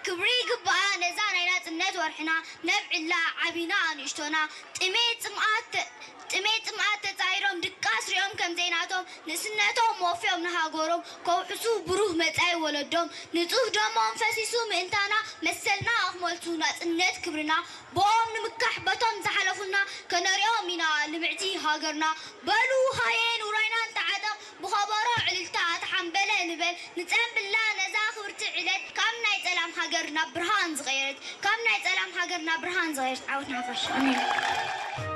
ክብሪ ይግባኣ ነዛ ናይ ናጽነት ወርሕና፣ ነብዕላ ዓቢና ኣንእሽቶና፣ ጥሜት ጽምኣት ተ-፣ ጥሜት ጽምኣት ተጻይሮም ድቃስ ሪኦም ከም ዘይናቶም፣ ንእስነቶም ወፍዮም ንሃገሮም፣ ከውሕሱ ብሩህ መጻኢ ወለዶም፣ ንጹህ ደሞም ፈሲሱ ምእንታና፣ መሰልና ኣኽመልቱ ናጽነት ክብርና፣ ብኦም ንምካሕ በቶም ዝሓለፉልና፣ ከነሪኦም ኢና ልምዕቲ ሃገርና። በሉ ሃየ ንውራይና ንተዓጠቕ፣ ብኸበሮ ዕልልታ ተሓምበለ ንበል፣ ንጸንብላ ነዛ ክብርቲ ዕለት፣ ካብ ናይ ጸላም ሃገር ናብ ብርሃን ዝቐየረት፣ ካብ ናይ ጸላም ሃገር ናብ ብርሃን ዝቐየረት ዓወት ንሓፋሽ። ኣሜን።